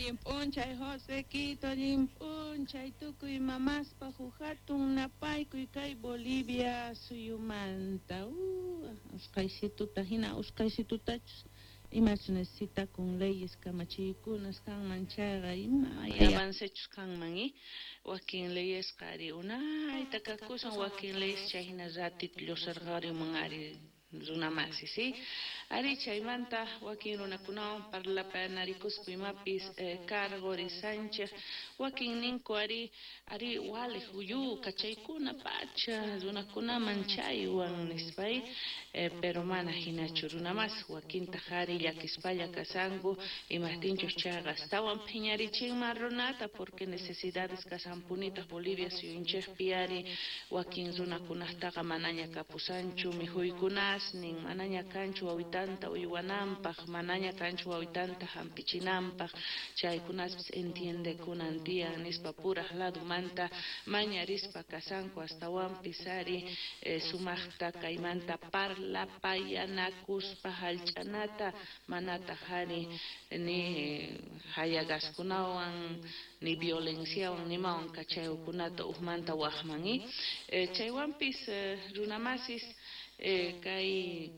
Allin p'unchay Josequito, allin p'unchay tukuy mamaspaj uj hatun napaykuy kay Bolivia suyumanta. Usqhaysituta hina usqhaysitutachus imachus necesitakun leyes kamachiykunas kanman chayqa ima avancechus kanman i wakin leyesqa ari unayta kakusan wakin leyes chay hina ratito lluqsirqarimun ari runamasi, sí? Ari chaymanta wakin runakunawan parlapanarikuspa imapis karqurisanchej wakin ninku ari ari waliq uyu kachaykuna pacha runakunaman chaywan nispay pero mana hinachu runamasi wakintaq ari llakispalla kasanku imajtinchus chayqa astawan phiñarichinman runata porque necesidades kasanpunitaq Bolivia suyunchikpi ari wakin runakunaqtaqa manaña kapusanchu mikhuykunasnin manaña kanchu wawitanta uywananpaq manaña kanchu wawitanta hampichinanpaq chaykunaspis entiendekunan tiyan nispa puraj ladumanta mañarispa kasanku astawanpis ari sumaqta kaymanta parlapayanakuspa hallch'anata manataq ari ni hayagaskunawan ni violenciawan nimawan kachaykunata ujmanta waqman i chaywanpis runamasis kay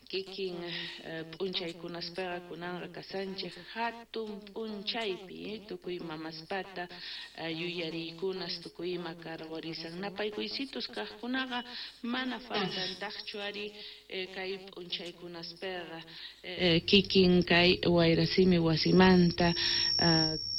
kikin p'unchaykunaspaqa kunanqa kasanchik hatun p'unchaypi tukuy mamaspata yuyariykunas tukuy ima karqurisan napaykuysitus kaqkunaqa mana faltantaqchu ari kay p'unchaykunaspaqa kikin kay Wayrasimi wasimanta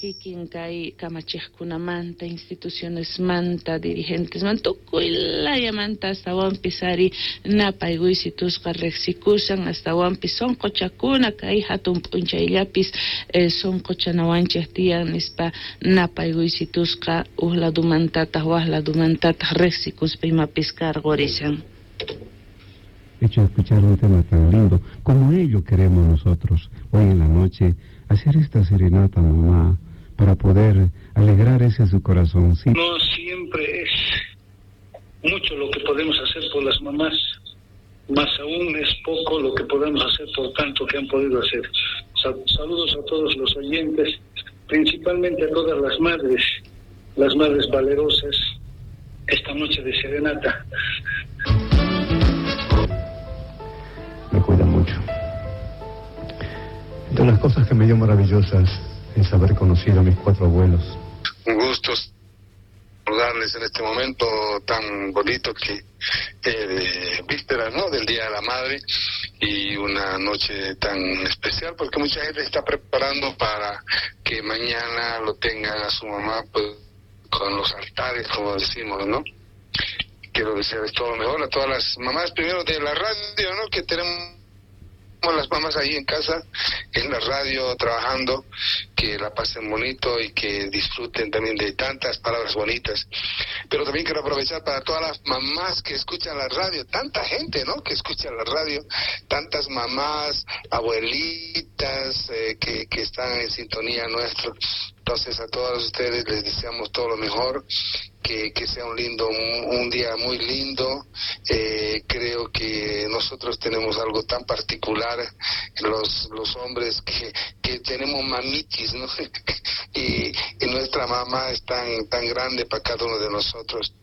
kikin kay kamachiqkunamanta institucionesmanta dirigentesmanta tukuy layamanta astawanpis ari napaykuysitusqa riqsikusan astawanpis sunquchakuna kay hatun p'unchayllapis sunquchanawanchik tiyan nispa napaykuysitusqa uj ladumantataq waj ladumantataq riqsikuspa imapis karqurisan. Hecho de escuchar un tema tan lindo como ello queremos nosotros hoy en la noche hacer esta serenata, mamá, para poder alegrar ese su corazoncito. No siempre es mucho lo que podemos hacer por las mamás, más aún es poco lo que podemos hacer por tanto que han podido hacer. Saludos a todos los oyentes, principalmente a todas las madres valerosas, esta noche de serenata. Me cuida mucho. Entre las cosas que me dio maravillosas es haber conocido a mis 4 abuelos. Un gusto saludarles en este momento tan bonito que de víspera, ¿no?, del Día de la Madre, y una noche tan especial porque mucha gente está preparando para que mañana lo tengan a su mamá, pues, con los altares, como decimos, ¿no? Quiero desearles todo lo mejor a todas las mamás, primero de la radio, ¿no?, que tenemos las mamás ahí en casa, en la radio, trabajando, que la pasen bonito y que disfruten también de tantas palabras bonitas. Pero también quiero aprovechar para todas las mamás que escuchan la radio, tanta gente, ¿no?, que escucha la radio, tantas mamás, abuelitas, que están en sintonía nuestro. Entonces a todos ustedes les deseamos todo lo mejor, que sea un día muy lindo. Creo que nosotros tenemos algo tan particular, los hombres que tenemos mamitis, ¿no? Y nuestra mamá es tan grande para cada uno de nosotros.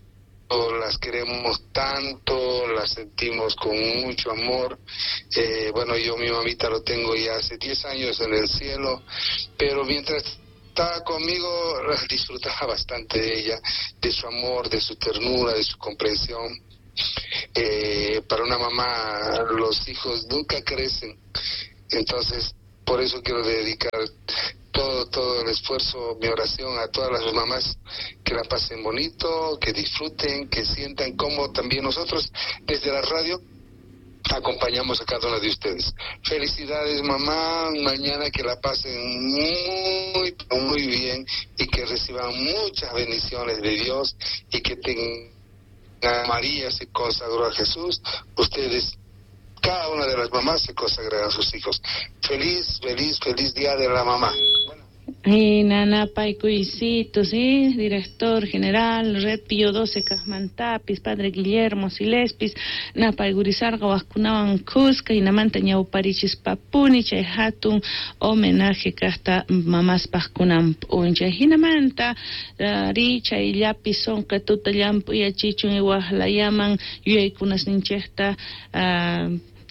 Las queremos tanto, las sentimos con mucho amor. Bueno, yo mi mamita lo tengo ya hace 10 años en el cielo, pero mientras estaba conmigo disfrutaba bastante de ella, de su amor, de su ternura, de su comprensión. Para una mamá los hijos nunca crecen, entonces por eso quiero dedicar todo el esfuerzo, mi oración a todas las mamás, que la pasen bonito, que disfruten, que sientan como también nosotros desde la radio acompañamos a cada una de ustedes. Felicidades, mamá, mañana que la pasen muy, muy bien y que reciban muchas bendiciones de Dios y que tengan María se consagró a Jesús, ustedes, cada una de las mamás se consagrarán a sus hijos. Feliz, feliz, feliz día de la mamá. Nanapaykuysito, sí, director general, Red Pío 12 kajmantapis, padre Guillermo Silespis, napaykurisarqa wajkunawan khuska, hinamanta ñawparichispapuni chay hatun homenaje kajta mamaspaj kunan p'unchay. Hinamanta ri chayllapi sonqetuta llamp'uyachichun wajlayaman yuyaykunasninchejta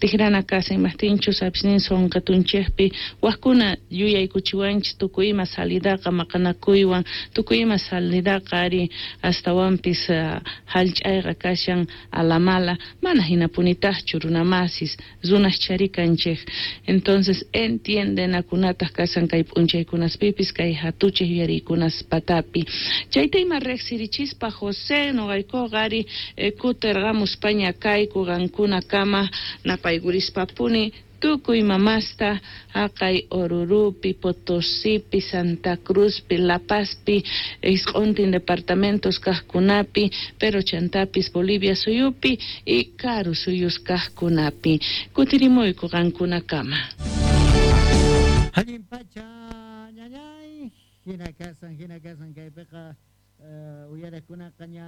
tijrana kasa imajtinchus apisnin sonqetunchejpi wajkuna yuyaykuchiwanchis tukuy ima salidaqa maqanakuywan tukuy ima salidaqa ari astawanpis hallch'ayqa kashan alamala mana hinapunitaqchu runamasis runas charikanchej. Entonces entiendenakunataq kasan kay p'unchaykunaspipis kay hatuchej yuyariykunas patapi. Chayta ima riqsirichispa José noqaykuqa ari kutirqamuspaña kayku qankunakama napaykuриspapuni tukuy mamasta haqay Orurupi, Potosipi, Santa Cruzpi, La Pazpi, isq'untin departamentos kajkunapi, pero chantapis Bolivia suyupi y karu suyus kajkunapi. Kutirimuyku qankunakama. Allin pacha ñañay, hina kasan kaypiqa uyariqkunaqa ña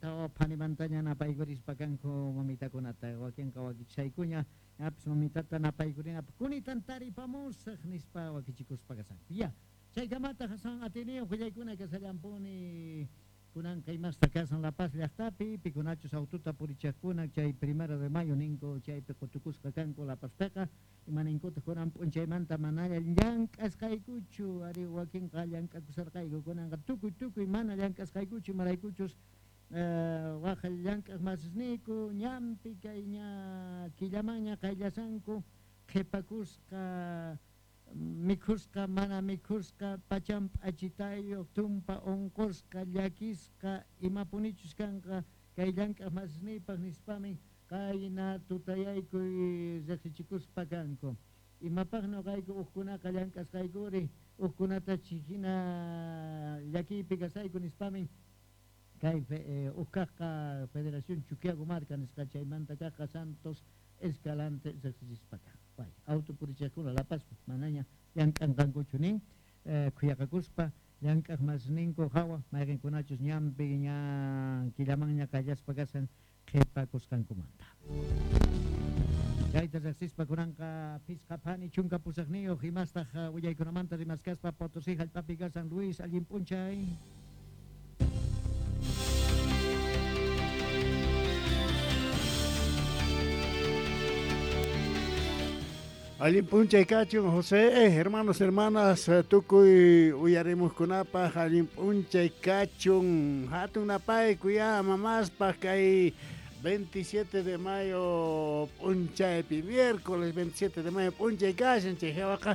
tawa phanimantaña napaykurispa kanku mamitakunata wakinqa wakichaykuña ñapis mamitata napaykurinapaq kunitan taripamusaq nispa wakichikuspa kasanku. Ya, chaykamata Hasan atiniyuq willaykuna kasallampuni kunanqa imasta kasan La Paz llaqtapi pikunachus aututa purichaqkuna chay 1 de mayo ninku chaypi qutukusqa kanku La Pazpiqa imaninkuta kunan p'unchaymanta manalla llank'asqaykuchu ari wakinqa llank'akusarqayku kunanqa tukuy mana llank'asqaykuchu imaraykuchus waj llank'aq masisniyku ñanpi kay ña killamanña qayllasanku qhipakusqa mikhusqa mana mikhusqa pachan p'achitayuq tumpa unqusqa llakisqa imapunichus kanqa kay llank'aq masisniypaq nispamin qayna tutayaykuy riqsichikuspa kanku. Imapaq noqayku uqkunaqa llank'asqaykuri uqkunata hina llakiypi kasayku nispamin kay uqkaqqa Federación Chuquiago Marca nisqa chaymanta kaqqa Santos Escalante riqsichispa kan. Vaya, auto purichaqkuna La Pazpi manaña llank'anqankuchu nin khuyaqakuspa llank'aq masninku hawa mayqinkunachus ñanpi ña killamanña qayllaspa kasan qhipakusqankumanta. Chayta riqsispa kunanqa phisqa phani chunka pusaqniyuq imastaq willaykunamanta rimaskaspa Potosí hallp'api kasan Luis allin p'unchay. Allin p'unchay kachun José, hermanos, hermanas, tukuy uyarimuqkunapaq allin p'unchay kachun hatun napayku ya mamaspaq kay 27 de mayo p'unchaypi miércoles 27 de mayo p'unchay kashan chay hawaqa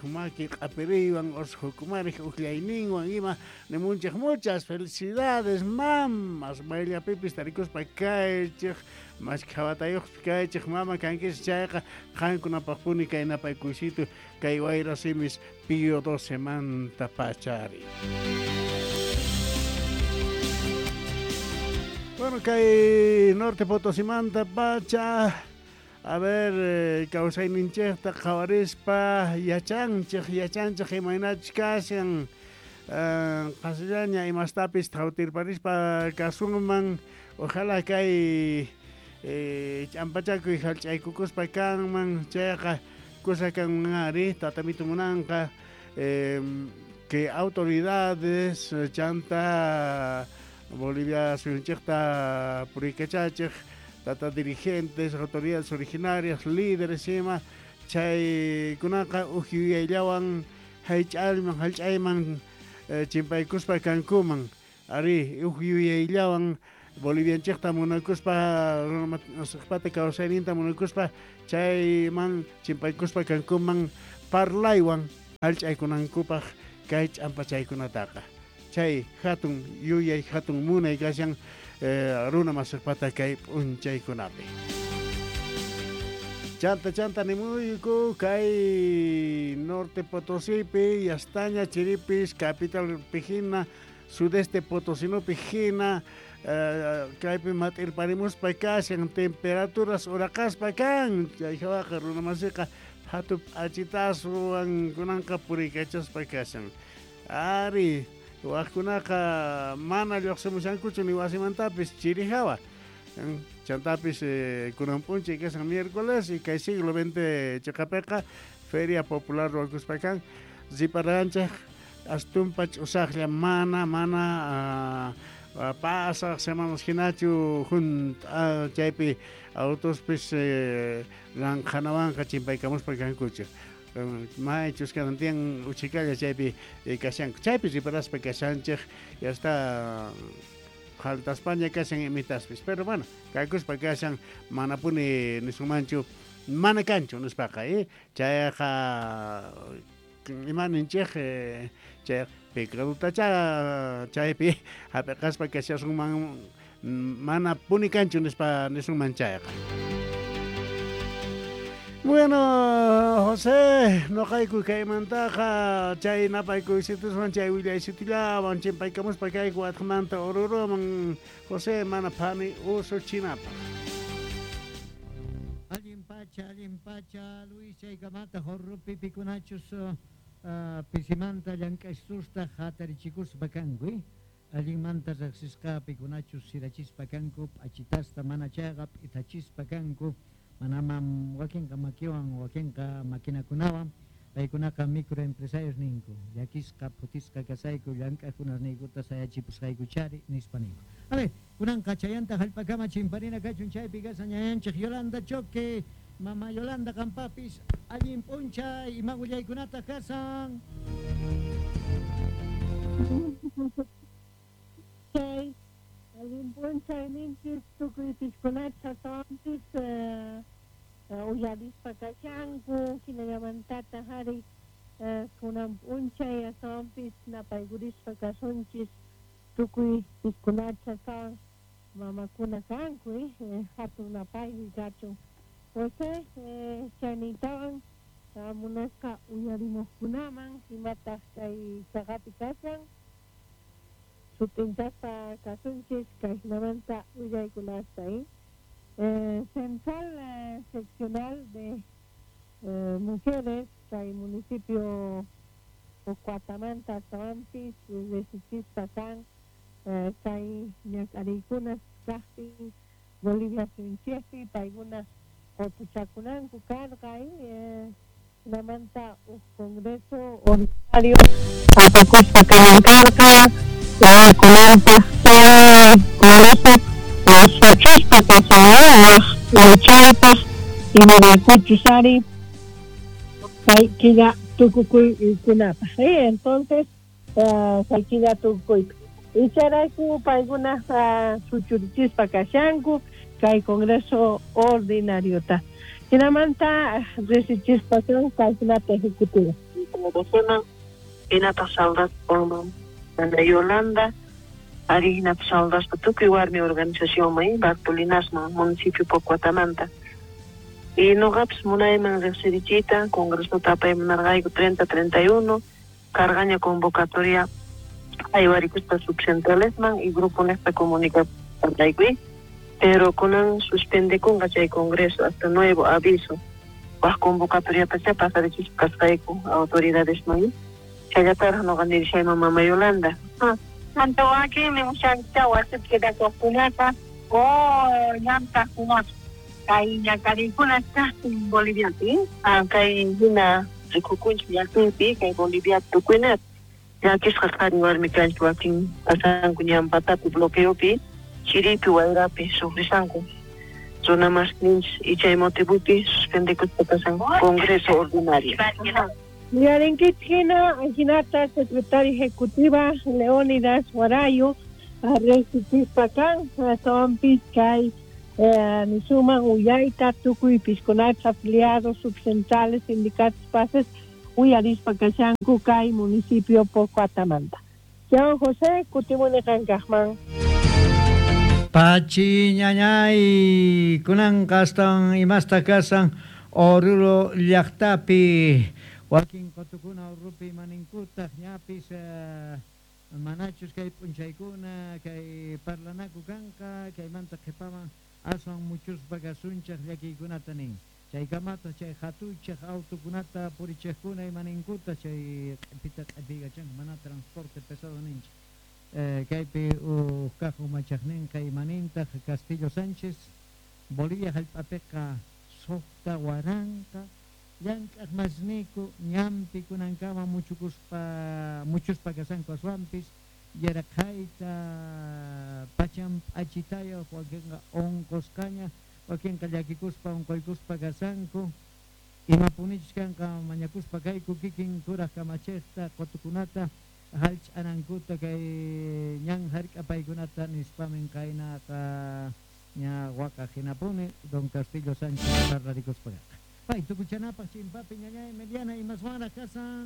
maki q'apiriywan ushukumarik uqllayninwan ima nimunchik muchas felicidades mamas mayllapipis tarikuspa kaychik mashkhawatayuqpis kaychik mama kankis chayqa qankunapaqpuni kay napaykuysito kay wayra simis Pío 12 manta pachari. Bueno, kay Norte Potosimanta pacha, a ver, kawsayninchikta qhawarispa yachanchik imaynachus kashan qasillaña imastapis thawtirparispa kasunman, ojalá kay ch'ampachakuy hallch'aykukuspa kanman chayqa kusa kanman ari tatamitu munanqa que autoridades chanta Bolivia suyunchikta purikachachik tata dirigentes, autoridades originarias, líderes ima chaykunaqa uj yuyayllawan hallch'ayman chimpaykuspa kankuman ari uj yuyayllawan Bolivianchikta munakuspa runamasiqpata kawsayninta munakuspa chayman chimpaykuspa kankuman parlaywan hallch'aykunankupaq kay ch'ampachaykunataqa chay hatun yuyay hatun munay kashan runamasiqpata kay p'unchaykunapi. Chanta nimuyku kay Norte Potosipi yastaña chiripis capital pijina sudeste potosinopi hina kaypi mat'irparimuspa kashan temperaturas uraqaspa kan chay hawaqa runamasiqa Hatu p'achitaswan kunanqa puriykachaspa kashan. Ari, wajkunaqa mana lluqsimushankuchu ni wasimantapis chirijawa. Chantapis kunan p'unchay kashan miércoles y kay siglo XX chiqapiqa Feria Popular ruwakuspa kan riparanchej astumpa ch'usaqlla mana pasaq semanas hinachu junt'a chaypi autospis ranqhanawanqa chimpaykamuspa kankuchu. Maychus kanan tiyan uchikalla chaypi kashanku. Chaypi riparaspa kashanchej ya está faltaspaña kashan imitaspis. Pero bueno, kakuspa kashan manapuni nisunmanchu mana kanchu nispaqa, chayqa ima ninchej chay pecadutacha chaypi hap'iqaspa kashasunman mana puni kanchu nispa nisunman chayqa. Bueno, José, noqayku kaymantaqa chay napaykuysituwan chay willaysitullawan chimpaykamuspa kayku atqamanta Oruroman José mana phani usuchinapaq. Allin pacha, Luis, chaykamata Oruro pikunachus pisimanta llank'aysusta hatarichikuspa kanku, allinmanta riqsisqa pikunachus sirachispa kanku, p'achitasta mana chayqa p'itachispa kanku, manamam wakinqa makiwan, wakinqa maquinakunawan, paykunaqa microempresarios ninku, llakisqa, phutisqa kasayku, llank'aqkunasniykuta sayachipusqaykuchari nispa ninku. A ver, kunanqa chayanta hallp'akama chimparina kachun chaypi kashan ñañanchik Yolanda Choque, mama Yolanda qampapis allin p'unchay ima willaykunata kasan. Chay allin p'unchay ninchis tukuy piskunata astawanpis uyarispa kashanku hinallamantataq ari kunan p'unchay astawanpis napaykurispa kasunchis tukuy piskunata astawan mamakuna kanku hatun napaykuy kachun. José chayniytawan munasqa uyarimuqkunaman imataq kay chaqapi kashan sut'inchaspa kasunchis kay hinamanta willaykunasta. Central Seccional de Mujeres kay municipio Pocoatamanta astawanpis resichispa kan kay ñak'ariykunas kaqtin Bolivia suyunchikpi paykuna qotuchakunanku karqa hinamanta uj congreso ordinario apakuspa kanan karqa kunanpaq chay congreso suchuspa kashan waj wichaypaq imaraykuchus ari kay killa tukukuykunapaq. Entonces kay killa tukukuypi icharayku paykuna suchurichispa kashanku kay congreso ordinariota. Hinamanta resichispa kan kaykunata ejecutiva. Hinataq saudaspa Ana Yolanda, ari hinataq saudaspa tukuy warmi organizacionman Bartolinasman municipio Pocoatamanta. Y noqapis munayman riqsirichiyta congresota apaymunarqayku 30-31 cargaña convocatoria aywarikuspa subcentralesman y grupo nesta comunicación pero kunan suspendekunqa chay congreso hasta nuevo aviso waj convocatoria pasarichispa kasqayku autoridadesman challataraq noqa nirishayman mama Yolanda. Manta wakinmi mushankicha wasipi quedakuqkunata o llamk'aqkunata kay ñak'ariykuna kaqtin Boliviapi. Kay hina rikukunchik llaqtaypi kay Bolivia tukuyna llakisqa qhari warmi kanchik wakin pasanku ñanpatapi bloqueopi chiripi wayrapi sufrisanku runa masninchis y chay motivopi suspendekuspa pasan congreso ordinario. Uyarinkichik hina hinata secretaria ejecutiva Leónidas Guarayo riqsichispa kan astawanpis kay nisuman uyayta tukuy piskunata afiliados subcentrales sindicatos pases uyarispa kashanku kay municipio Pocoatamanta. Chan José kutimuni qankaqman. Pachi ñañay kunanqa astawan imasta kasan Oruro llaqtapi wakin qotukuna Oruropi maninkutaq ñapis manachus kay p'unchaykuna kay parlanaku kanqa kaymanta qhipaman aswan muchuspa kasunchaq llakiykunata nin. Chaykamata chay hatuchaq autokunata purichiqkuna imaninkuta chay q'ipita q'ipiykachanku mana transporte pesado ninchik. Kaypi uj kaq umachaqninqa imanintaq Castillo Sánchez Bolivia hallp'apiqa 6000 llank'aq masniku ñanpi kunankama muchukuspa muchuspa kashanku aswanpis yaraqhayta pachan p'achitayuq wakinqa unqusqaña wakinqa llakikuspa unquykuspa kashanku imapunichus kanqa mañakuspa kayku kikin kuraq kamachiqta qutukunata hallch'anankuta kay ñan hark'apaykunata nispamin qaynaqa ña waqaq hinapuni don Castillo Sánchez parlarikuspa karqa. Pay tukuchanapaq chimpapi ñañay mediana imaswanraq kasan.